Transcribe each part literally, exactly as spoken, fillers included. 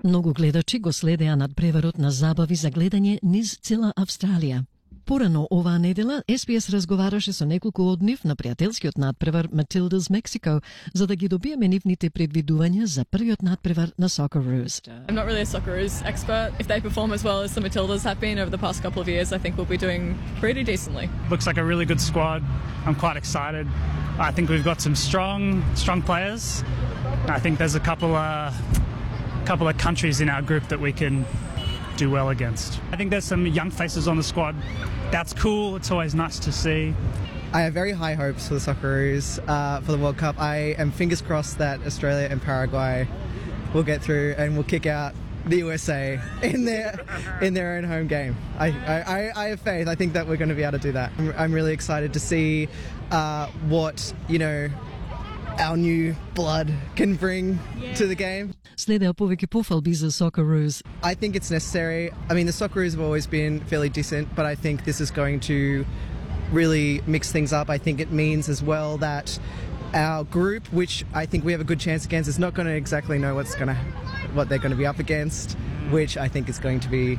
Многу гледачи го следеа надпреварот на забави за гледање низ цела Австралија. Порано оваа недела Ес Би Ес разговараше со неколку од нив на пријателскиот надпревар Matildas Mexico за да ги добиеме нивните предвидувања за првиот надпревар на Socceroos. I'm not really a Socceroos expert. If they perform as well as the Matildas have been over the past couple of years, I think we'll be doing pretty decently. Looks like a really good squad. I'm quite excited. I think we've got some strong, strong players. I think there's a couple of, couple of countries in our group that we can do well against. I think there's some young faces on the squad. That's cool. It's always nice to see. I have very high hopes for the Socceroos uh, for the World Cup. I am fingers crossed that Australia and Paraguay will get through and will kick out the U S A in their in their own home game. I, I, I have faith. I think that we're going to be able to do that. I'm, I'm really excited to see uh, what, you know, our new blood can bring yeah. to the game. Следеа повеќе пофалби за Socceroos. I think it's necessary. I mean, the Socceroos have always been fairly decent, but I think this is going to really mix things up. I think it means as well that our group, which I think we have a good chance against, is not going to exactly know what's going to, what they're going to be up against, which I think is going to be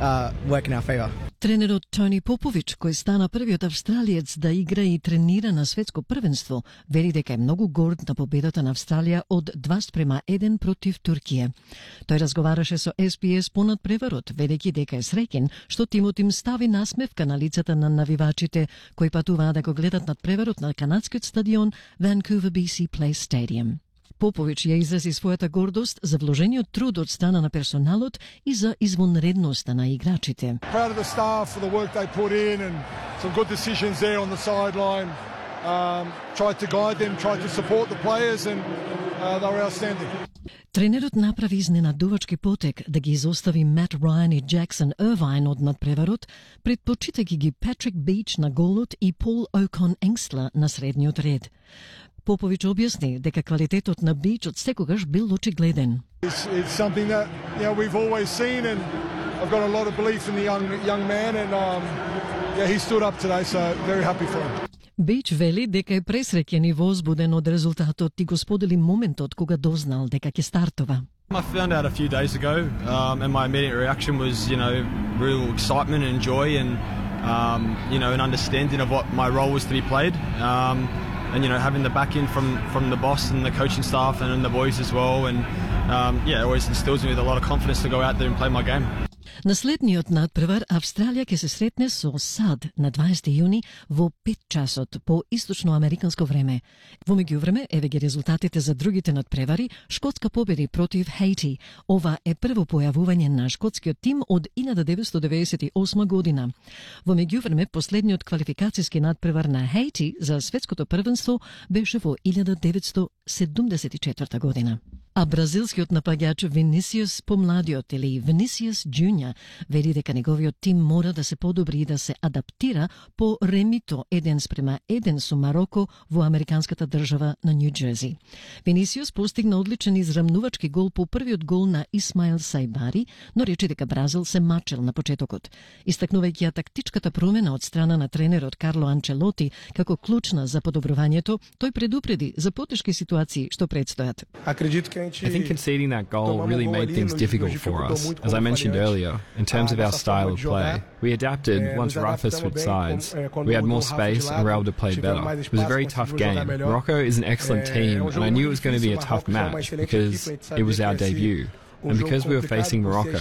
uh, work in our favour. Тренерот Тони Попович, кој стана првиот австралиец да игра и тренира на светско првенство, вели дека е многу горд на победата на Австралија од два спрема еден против Туркија. Тој разговараше со Ес Би Ес по надпреварот, велејќи дека е среќен што тимот им стави насмевка на лицата на навивачите кои патуваа да го гледат надпреварот на канадскиот стадион Vancouver Би Си Place Stadium. Попович ја изрази својата гордост за вложениот труд од страна на персоналот и за извонредноста на играчите. Proud of the staff for the work they put in and some good decisions there on the sideline. Um, tried to guide them, tried to support the players and uh, they were outstanding. Тренерот направи изненадувачки потек да ги изостави Мат Рајан и Джексон Ирвайн од надпреварот, предпочитајќи ги Патрик Бич на голот и Пол Окон Енгстла на средниот ред. Попович објасни дека квалитетот на Бич од секогаш бил очигледен. It's, it's something that you know we've always seen, and I've got a lot of belief in the young young man, and um, yeah, he stood up today, so very happy for him. Бич вели дека е пресреќен и возбуден од резултатот и го сподели моментот кога дознал дека ќе стартува. I found out a few days ago, um, and my immediate reaction was, you know, real excitement and joy, and um, you know, an understanding of what my role was to be played. Um, And, you know, having the backing from, from the boss and the coaching staff and, and the boys as well. And, um, yeah, it always instills me with a lot of confidence to go out there and play my game. На следниот надпревар Австралија ќе се сретне со САД на дваесети јуни во пет часот по источноамериканско време. Во меѓувреме, еве ги резултатите за другите надпревари. Шкотска победи против Хаити. Ова е прво појавување на шкотскиот тим од илјада деветстотини деведесет и осма година. Во меѓувреме, последниот квалификацијски надпревар на Хаити за светското првенство беше во илјада деветстотини седумдесет и четврта година. А бразилскиот напаѓач Винисиус помладиот или Винисиус Джуниор вели дека неговиот тим мора да се подобри и да се адаптира по ремито еден спрема еден со Мароко во американската држава на Нью Џерси. Винисиус постигна одличен израмнувачки гол по првиот гол на Исмаил Сајбари, но рече дека Бразил се мачел на почетокот. Истакнувајќи ја тактичката промена од страна на тренерот Карло Анчелоти како клучна за подобрувањето, тој предупреди за потешки ситуации што предстојат. I think conceding that goal really made things difficult for us. As I mentioned earlier, in terms of our style of play, we adapted once Rafa switched sides. We had more space and were able to play better. It was a very tough game. Morocco is an excellent team, and I knew it was going to be a tough match because it was our debut. And because we were facing Morocco,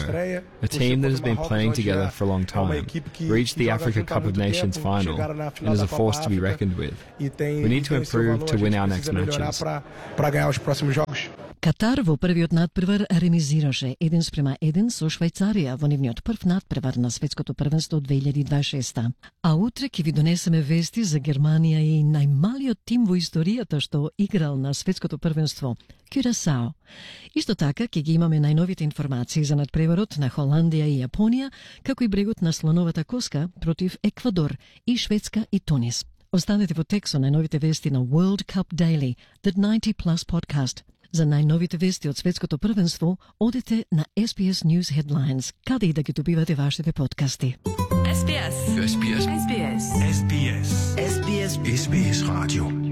a team that has been playing together for a long time, reached the Africa Cup of Nations final and is a force to be reckoned with. We need to improve to win our next matches. Катар во првиот надпревар ремизираше еден спрема еден со Швајцарија во нивниот прв надпревар на светското првенство две илјади дваесет и шеста. А утре ќе ви донесеме вести за Германија и најмалиот тим во историјата што играл на светското првенство – Кюрасао. Исто така ќе ги имаме најновите информации за надпреварот на Холандија и Јапонија, како и брегот на слоновата коска против Еквадор и Шведска и Тунис. Останете во тек со најновите вести на World Cup Daily, the ninety plus podcast. За најновите вести од светското првенство, одете на Ес Би Ес News Headlines, каде и да ги добивате вашите подкасти. Ес Би Ес. Ес Би Ес. Ес Би Ес. Ес Би Ес. Ес Би Ес. Ес Би Ес Radio.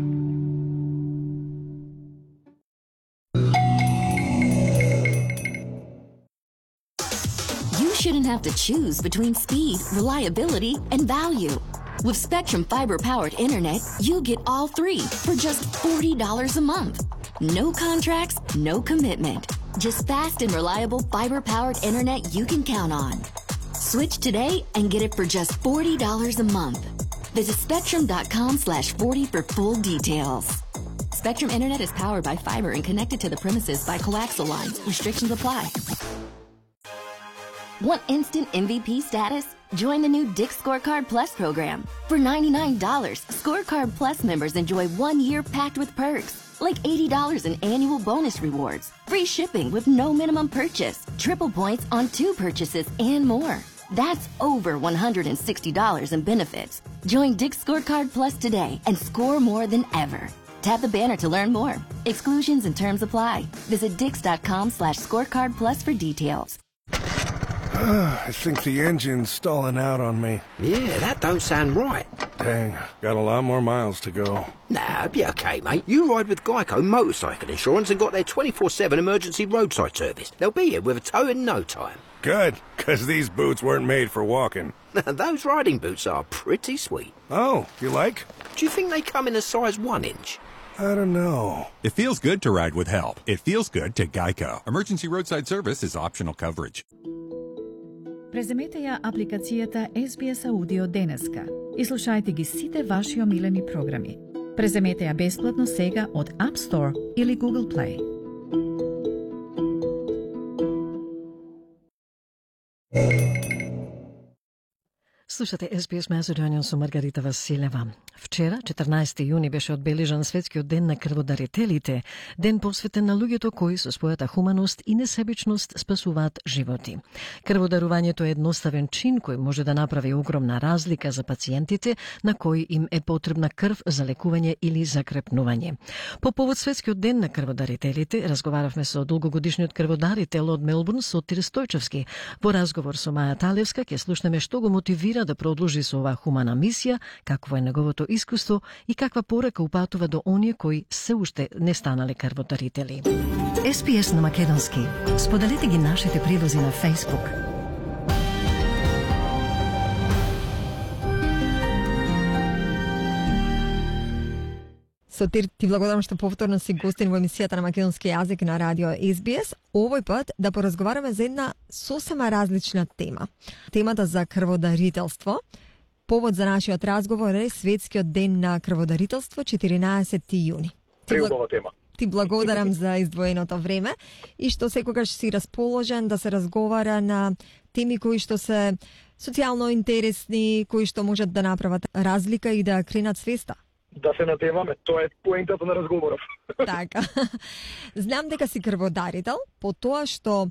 shouldn't have to choose between speed, reliability, and value. With Spectrum fiber-powered internet, you get all three for just forty dollars a month. No contracts, no commitment. Just fast and reliable fiber-powered internet you can count on. Switch today and get it for just forty dollars a month. Visit spectrum.com slash 40 for full details. Spectrum Internet is powered by fiber and connected to the premises by coaxial lines. Restrictions apply. Want instant M V P status? Join the new Dick Scorecard Plus program. For ninety-nine dollars, Scorecard Plus members enjoy one year packed with perks, like eighty dollars in annual bonus rewards, free shipping with no minimum purchase, triple points on two purchases, and more. That's over one hundred sixty dollars in benefits. Join Dick Scorecard Plus today and score more than ever. Tap the banner to learn more. Exclusions and terms apply. Visit dix.com slash scorecard plus for details. I think the engine's stalling out on me. Yeah, that don't sound right. Dang, got a lot more miles to go. Nah, it'll be okay, mate. You ride with Geico Motorcycle Insurance and got their twenty-four seven emergency roadside service. They'll be here with a tow in no time. Good, because these boots weren't made for walking. Those riding boots are pretty sweet. Oh, you like? Do you think they come in a size one inch? I don't know. It feels good to ride with help. It feels good to Geico. Emergency roadside service is optional coverage. Преземете ја апликацијата Ес Би Ес Аудио денеска и слушајте ги сите ваши омилени програми. Преземете ја бесплатно сега од App Store или Google Play. Слушате Ес Би Ес Macedonian со Маргарита Василева. Вчера, четрнаесети јуни, беше одбележан Светскиот ден на крводарителите, ден посветен на луѓето кои со својата хуманост и несебичност спасуваат животи. Крводарувањето е едноставен чин кој може да направи огромна разлика за пациентите на кои им е потребна крв за лекување или закрепнување. По повод Светскиот ден на крводарителите, разговаравме со долгогодишниот крводарител од Мелбурн, Сотир Стојчевски. Во разговор со Маја Талевска ќе слушнеме што го мотивира да продолжи со оваа хумана мисија, какво е неговото искуство и каква порака упатува до оние кои се уште не станале крводарители. Ес Би Ес на македонски. Споделете ги нашите прилози на Facebook. Сотир, ти благодарам што повторно си гостин во емисијата на македонски јазик на радио Ес Би Ес. Овој пат да поразговараме за една сосема различна тема. Темата за крводарителство. Повод за нашиот разговор е Светскиот ден на крводарителство, четиринаесети јуни. Преубава тема. Ти благодарам за издвоеното време и што секогаш си расположен да се разговара на теми кои што се социјално интересни, кои што можат да направат разлика и да кренат свеста. Да се натемаме, тоа е поентата на разговоров. Така. Знам дека си крводарител, по тоа што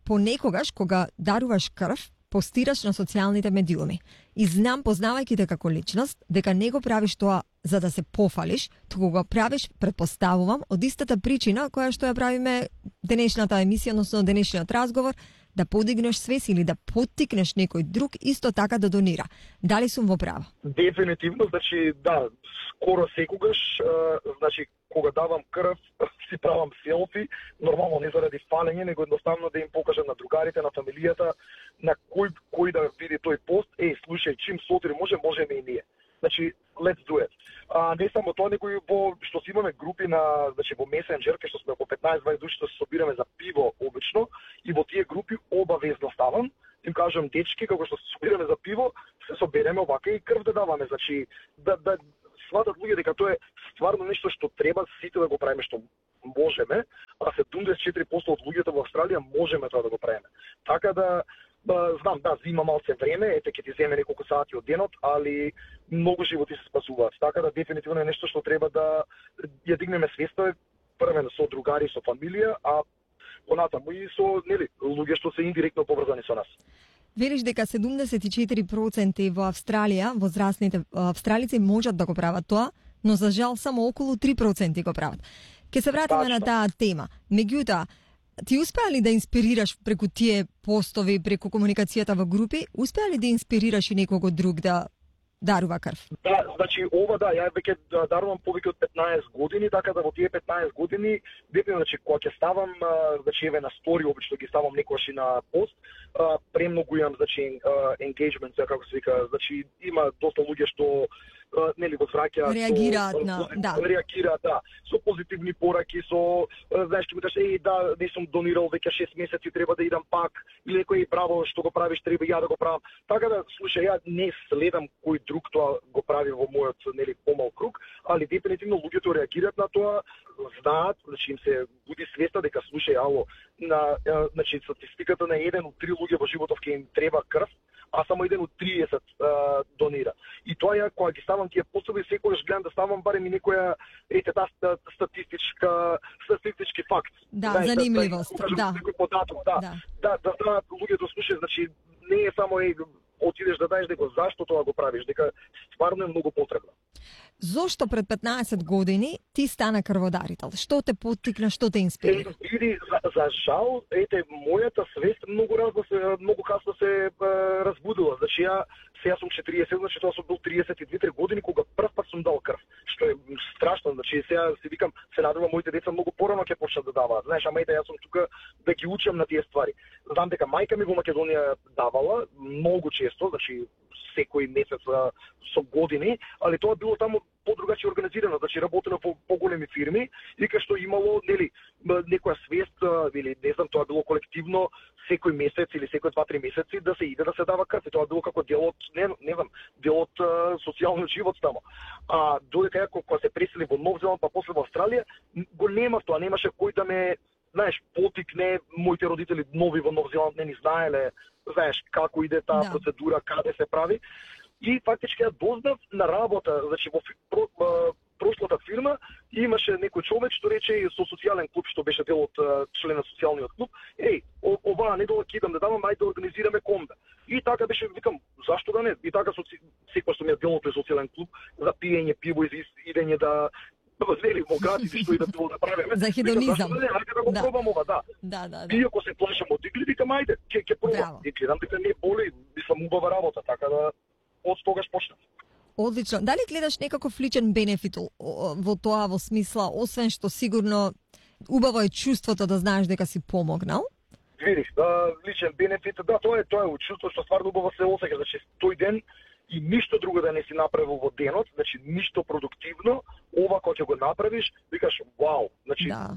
понекогаш кога даруваш крв, постираш на социјалните медиуми. И знам, познавајќи те како личност, дека не го правиш тоа за да се пофалиш, туку го правиш, предпоставувам, од истата причина која што ја правиме денешната емисија, односно денешниот разговор, да подигнеш свес или да поттикнеш некој друг исто така да донира. Дали сум во право? Дефинитивно, значи да, скоро секогаш, значи кога давам крв, си правам селфи, нормално не заради фалење, него едноставно да им покажам на другарите, на фамилијата, на кој кој да види тој пост, еј, слушај, чим Сотир може, можеме и ние. Значи, let's do it. А не само тоа, него и во што си имаме групи на, значи во Messenger, кај што сме во петнаесет-дваесет души што се собираме за пиво обично, и во тие групи обавезно ставам, им кажам, дечки, како што се собираме за пиво, се собереме овака и крв да даваме, значи да да сватат луѓе дека тоа е стварно нешто што треба сите да го правиме, што можеме, а седумдесет и четири проценти од луѓето во Австралија можеме тоа да го правиме. Така да Ба, знам, да, зима малце време, ете ќе ти земе неколку сати од денот, али многу животи се спасуваат. Така да дефинитивно е нешто што треба да ја дигнеме свеста, првено со другари, со фамилија, а понатаму и со, нели, луѓе што се индиректно поврзани со нас. Велиш дека седумдесет и четири проценти во Австралија, возрастните австралици можат да го прават тоа, но за жал само околу три проценти го прават. Ке се вратиме на таа тема. Меѓутоа, ти успеа ли да инспирираш преку тие постови, преку комуникацијата во групи, успеа ли да инспирираш и некого друг да дарува крв. Да, значи ова да, ја веќе дарувам повеќе од петнаесет години, така да во тие петнаесет години, дефинитивно значи кога ќе ставам, значи еве на стори обично ги ставам некогаш и на пост, премногу имам значи engagement, како се вика, значи има доста луѓе што нели возвраќаат, реагираат на, да. Реагираат, да, со позитивни пораки, со знаеш, ќе ми кажеш, еј, да, не сум донирал веќе шест месеци, треба да идам пак, или некој право што го правиш, треба ја да го правам. Така да, слушај, ја не следам кој друг тоа го прави во мојот нели помал круг, али дефинитивно луѓето реагираат на тоа, знаат, значи им се буди свеста дека слушај, ало, на значи статистиката на еден од три луѓе во животов ќе им треба крв, а само еден од триесет а, донира. И тоа ја кога ги ставам тие пособи, секогаш гледам да ставам барем и некоја ете таа статистичка статистички факт. Да, знаеш, занимливост, да. Да. Некој податок, да. Да, да, да знаат луѓето слушаат, значи не е само е отидеш да даеш дека зашто тоа го правиш, дека стварно е многу потребно. Зошто пред петнаесет години ти стана крводарител? Што те поттикна, што те инспирира? Е, види, за, за жал, ете, мојата свест многу разно се, многу касно се е, разбудила. Значи ја сега сум четириесет, значи тоа сум бил триесет и две години кога прв пат сум дал крв. Што е страшно, значи сега си викам, се надевам моите деца многу порано ќе почнат да даваат. Знаеш, ама ете, јас сум тука да ги учам на тие ствари. Знам дека мајка ми во Македонија давала многу често, значи секој месец со години, али тоа било таму подругачи организирано, значи работено во поголеми фирми и кај што имало нели некоја свест или не знам, тоа било колективно секој месец или секој два-три месеци да се иде да се дава крв. И тоа било како дел од не, не знам, дел од социјалниот живот таму. А додека ја кога се пресели во Нов Зеланд, па после во Австралија, го немав тоа, немаше кој да ме, знаеш, потикне. Моите родители нови во Нов Зеланд не ни знаеле, знаеш, како иде таа да. Процедура, каде се прави. И фактички ја дознав на работа, значи во про, прошлата фирма имаше некој човек што рече со социјален клуб, што беше дел од член на социјалниот клуб, еј, оваа недола ќе идам да давам, ајде да организираме комбе. И така беше, викам, зашто да не? И така со секој што ми е дел од тој социјален клуб, за пиење пиво и идење да вели во градите што и да било да правиме. За хедонизам. Да, ајде да го да. пробам ова, да. Да, да, да. И ако се плашам од игри, викам ајде, ќе ќе пробам. И гледам дека не боли, мислам убава работа, така да од тогаш почнав. Одлично. Дали гледаш некаков личен бенефит во тоа, во смисла, освен што сигурно убаво е чувството да знаеш дека си помогнал? Видиш, да, личен бенефит, да, тоа е тоа е чувство што стварно убаво се осеќа, значи тој ден и ништо друго да не си направил во денот, значи ништо продуктивно, ова кога ќе го направиш, викаш вау, значи да.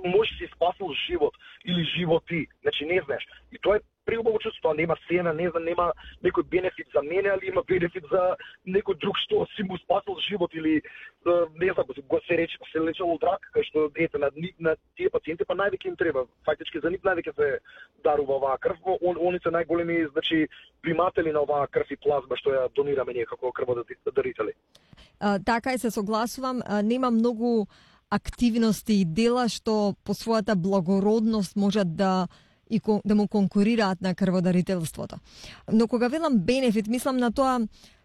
Може си спасил живот или животи, значи не знаеш. И тоа е преубаво чувство, тоа нема сена, не знам, нема некој бенефит за мене, али има бенефит за некој друг што си му спасил живот или не знам, го се рече, се лечел од рак, кај што ете на, на тие пациенти па највеќе им треба. Фактички за нив највеќе се дарува оваа крв, он, они се најголеми, значи приматели на оваа крв и плазма што ја донираме ние како крводарители. Така и се согласувам, а, нема многу активности и дела што по својата благородност можат да и да му конкурираат на крводарителството. Но кога велам бенефит, мислам на тоа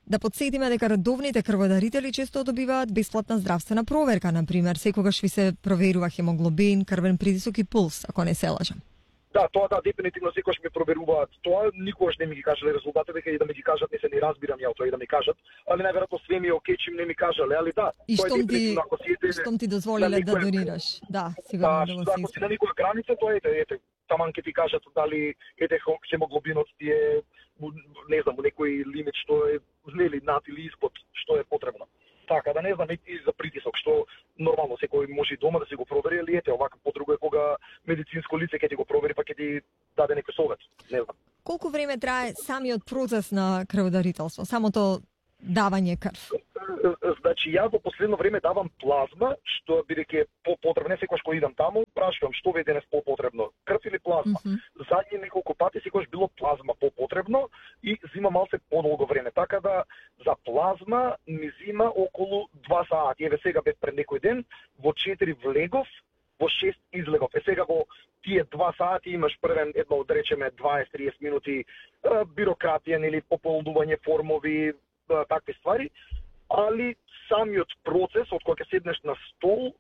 да подсетиме дека редовните крводарители често добиваат бесплатна здравствена проверка, на пример, секогаш ви се проверува хемоглобин, крвен притисок и пулс, ако не се лажам. Да, тоа да, дефинитивно секогаш ми проверуваат. Тоа никогаш не ми ги кажале резултатите, дека и да ми ги кажат, не се ни разбирам ја тоа и да ми кажат, али најверојатно све ми е окей, чим не ми кажале, али да. И штом ти, штом ти дозволиле да донираш. Да, сигурно да, да ако си на никоја граница, тоа ете, ете, таман ќе ти кажат дали ете хемоглобинот ти е, не знам, некој лимит што е нели над или испод што е потребно. Така да не знам и за притисок што нормално секој може дома да се го провери, али ете овака подруго е кога медицинско лице ќе ти го провери па ќе ти даде некој совет. Не знам. Колку време трае самиот процес на крводарителство, самото давање крв? Значи ја во последно време давам плазма, што бидејќи е попотребно, секогаш кога идам таму, прашувам што ви е денес попотребно, крв или плазма. Mm -hmm. Задни неколку пати секогаш било плазма попотребно и зима малце подолго време. Така да за плазма ми зима околу два сати. Еве сега бев пред некој ден, во четири влегов, во шест излегов. Е сега во тие два сати имаш првен едно да речеме дваесет-триесет минути бирократија или пополнување формови, такви ствари, али самиот процес од кога ќе седнеш на стол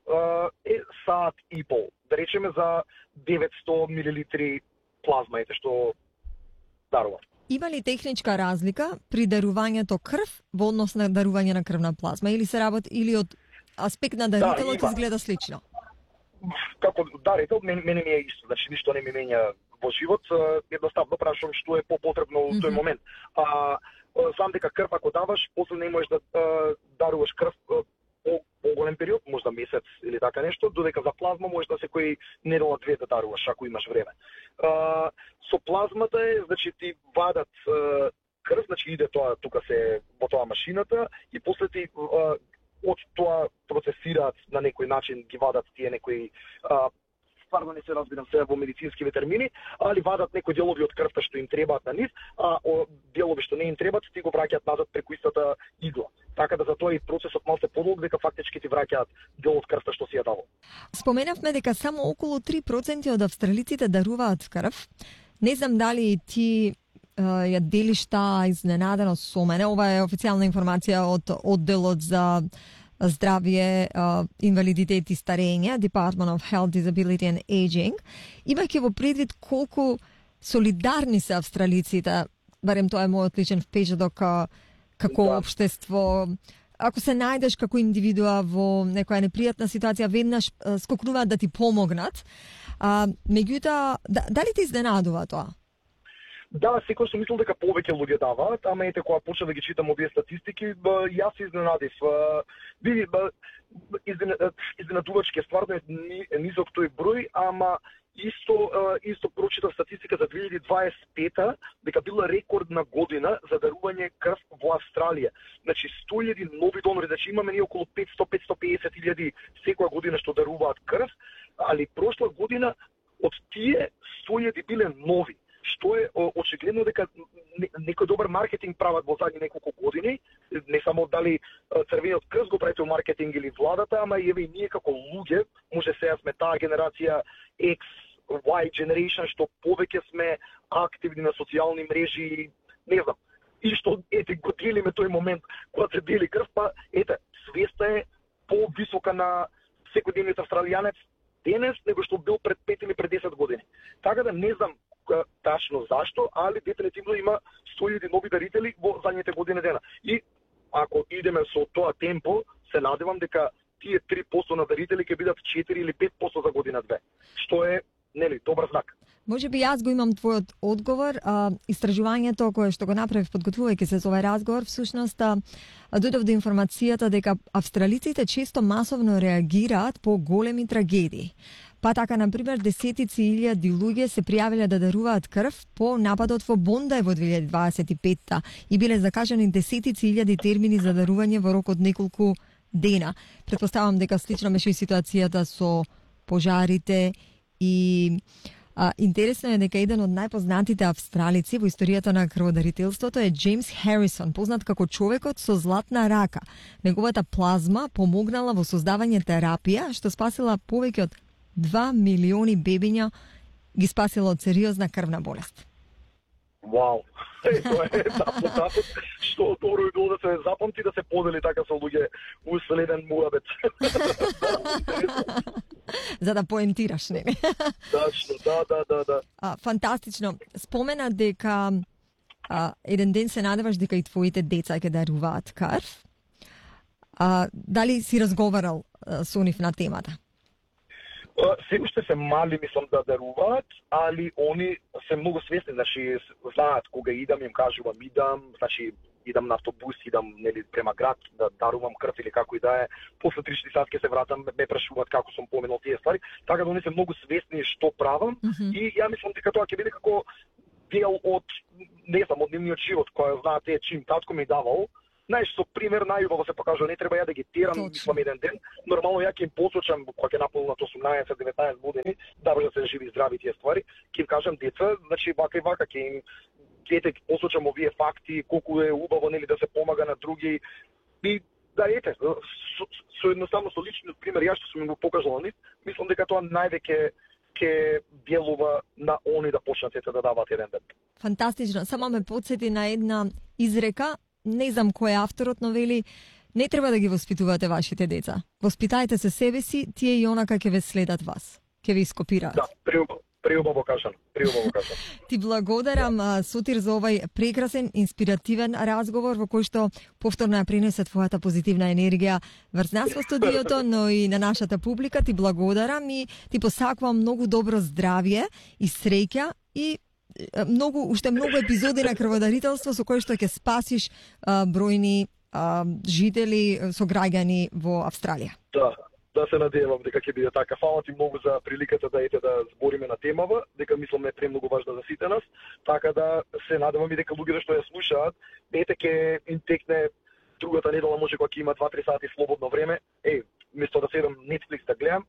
е саат и пол. Да речеме за деветсто милилитри плазма ете што дарува. Има ли техничка разлика при дарувањето крв во однос на дарување на крвна плазма или се работи или од аспект на дарителот да, изгледа слично? Како дарител мене, мене ми е исто, значи ништо не ми менја во живот, едноставно прашувам што е попотребно во тој момент. А знам дека крв ако даваш, после не можеш да даруваш крв по поголем период, можда месец или така нешто, додека за плазма можеш да секој недела две да даруваш ако имаш време. А, со плазмата е, значи ти вадат а, крв, значи иде тоа тука се во тоа машината и после ти а, од тоа процесираат на некој начин, ги вадат тие некои а, стварно не се разбирам се во медицинскиве термини, али вадат некои делови од крвта што им требаат на нив, а делови што не им требаат ти го враќаат назад преку истата игла. Така да за тоа и процесот малку подолг дека фактички ти враќаат дел од крвта што си ја давал. Споменавме дека само околу три проценти од австралиците даруваат крв. Не знам дали ти ја делиш таа изненаденост со мене. Ова е официјална информација од одделот за здравје, инвалидитет и старење, Department of Health, Disability and Aging. Имајќи во предвид колку солидарни се австралиците, барем тоа е мојот личен впечаток како да. Општество. Ако се најдеш како индивидуа во некоја непријатна ситуација, веднаш скокнуваат да ти помогнат. А, меѓутоа, да, дали те изненадува тоа? Да, секој сум мислил дека повеќе луѓе даваат, ама ете кога почна да ги читам овие статистики, ба, јас се изненадив. Види, изненадувачки е стварно е низок тој број, ама исто исто прочитав статистика за две илјади дваесет и пета дека била рекордна година за дарување крв во Австралија. Значи сто илјади нови донори, значи имаме ние околу петстотини до петстотини и педесет илјади секоја година што даруваат крв, али прошла година од тие сто илјади биле нови. Што е очигледно дека некој добар маркетинг прават во задни неколку години, не само дали црвениот крст го правите маркетинг или владата, ама и еве и ние како луѓе, може сега сме таа генерација X, Y generation, што повеќе сме активни на социјални мрежи, не знам, и што ете го делиме тој момент кога се дели крв, па ете, свеста е повисока на секојдневниот австралијанец денес него што бил пред пет или пред десет години. Така да не знам тачно зашто, али дефинитивно има сто илјади нови дарители во задните години дена. И ако идеме со тоа темпо, се надевам дека тие три проценти на дарители ќе бидат четири или пет проценти за година две, што е нели добар знак. Може би јас го имам твојот одговор. А, истражувањето кое што го направив подготвувајќи се за овој разговор, всушност дојдов до информацијата дека австралиците често масовно реагираат по големи трагедии. Па така, например, десетици илјади луѓе се пријавиле да даруваат крв по нападот во Бондај во две илјади дваесет и пета и биле закажани десетици илјади термини за дарување во рок од неколку дена. Претпоставам дека слично беше и ситуацијата со пожарите и а, интересно е дека еден од најпознатите австралици во историјата на крводарителството е Джеймс Харисон, познат како човекот со златна рака. Неговата плазма помогнала во создавање терапија што спасила повеќе од два милиони бебиња, ги спасила од сериозна крвна болест. Вау! Е, тоа е запомнато, што добро би било да се запомти, да се подели така со луѓе во следен муабет. За да поентираш, не? Точно, да, да, да, да. А, фантастично. Спомена дека а, еден ден се надеваш дека и твоите деца ќе даруваат крв. А, дали си разговарал а, со нив на темата? Се уште се мали, мислам, да даруваат, али они се многу свесни, значи знаат кога идам, им кажувам идам, значи идам на автобус, идам нели према град да дарувам крв или како и да е. После три-четири сати ќе се вратам, ме прашуваат како сум поминал тие ствари, така да они се многу свесни што правам mm-hmm. и ја мислам дека тоа ќе биде како дел од не знам од нивниот живот, кој знаате чим татко ми давал. Знаеш, со пример најубаво се покажува, не треба ја да ги терам, мислам еден ден. Нормално ја ќе им посочам кога ќе наполнат осумнаесет-деветнаесет години, да може да се живи и здрави тие ствари, ќе им кажам деца, значи вака и вака ќе им ќе посочам овие факти, колку е убаво нели да се помага на други. И да ете, со, со едноставно со личниот пример ја што сум им го покажал на нив, мислам дека тоа највеќе ќе делува на они да почнат да даваат еден ден. Фантастично, само ме потсети на една изрека. Не знам кој е авторот, но вели, не треба да ги воспитувате вашите деца. Воспитајте се себе си, тие и онака ќе ве следат вас. Ќе ве ископираат. Да, Преубаво кажано, преубаво кажано. Ти благодарам, Сотир, за овај прекрасен, инспиративен разговор во кој што повторно ја принесе твојата позитивна енергија врз нас во студиото, но и на нашата публика. Ти благодарам и ти посакувам многу добро здравје и среќа и многу, уште многу епизоди на крводарителство со кои што ќе спасиш а, бројни а, жители, сограѓани во Австралија. Да. Да се надевам дека ќе биде така. Фала ти многу за приликата да ете да збориме на темава, дека мислам е премногу важна за сите нас, така да се надевам и дека луѓето што ја слушаат, ете ќе им текне другата недела, може кога ќе има два-три сати слободно време, е, место да седам Netflix да гледам,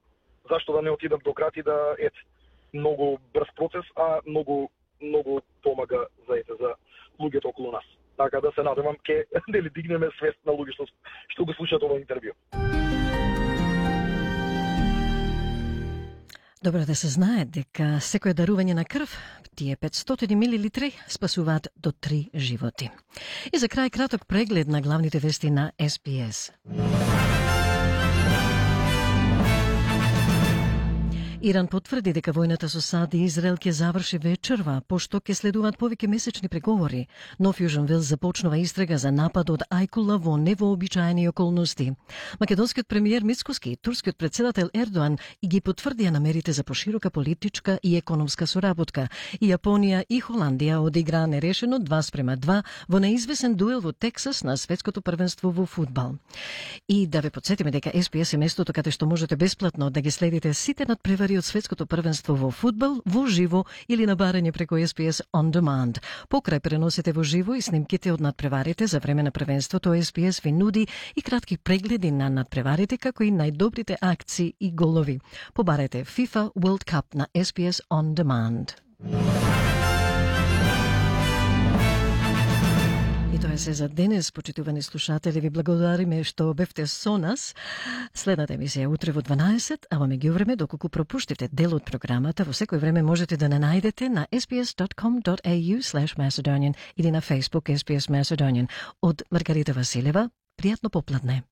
зашто да не отидам до град и да ете многу брз процес, а многу многу помага за ете за луѓето околу нас. Така да се надевам ќе дали дигнеме свест на луѓе што што го слушаат ова интервју. Добро да се знае дека секое дарување на крв, тие петстотини милилитри, спасуваат до три животи. И за крај краток преглед на главните вести на Ес Би Ес. Иран потврди дека војната со САД и Израел ќе заврши вечерва, пошто ќе следуваат повеќе месечни преговори. Но Фјужен Велс започнува истрага за напад од Ајкула во невообичаени околности. Македонскиот премиер Мицкоски и турскиот председател Ердоан и ги потврдија намерите за поширока политичка и економска соработка. И Јапонија и Холандија одиграа нерешено два спрема два во неизвесен дуел во Тексас на светското првенство во фудбал. И да ве потсетиме дека Ес Би Ес е местото каде што можете бесплатно да ги следите сите надпревари од светското првенство во фудбал во живо или на барање преку Ес Би Ес On Demand. Покрај преносите во живо и снимките од надпреварите за време на првенството, Ес Би Ес ви нуди и кратки прегледи на надпреварите како и најдобрите акции и голови. Побарете FIFA World Cup на Ес Би Ес On Demand. И тоа е се за денес, почитувани слушатели. Ви благодариме што бевте со нас. Следната емисија утре во дванаесет, а во меѓувреме, доколку пропуштите дел од програмата, во секој време можете да не најдете на ес би ес дот ком дот ей ю слеш Macedonian или на Facebook Ес Би Ес Macedonian. Од Маргарита Василева, пријатно попладне.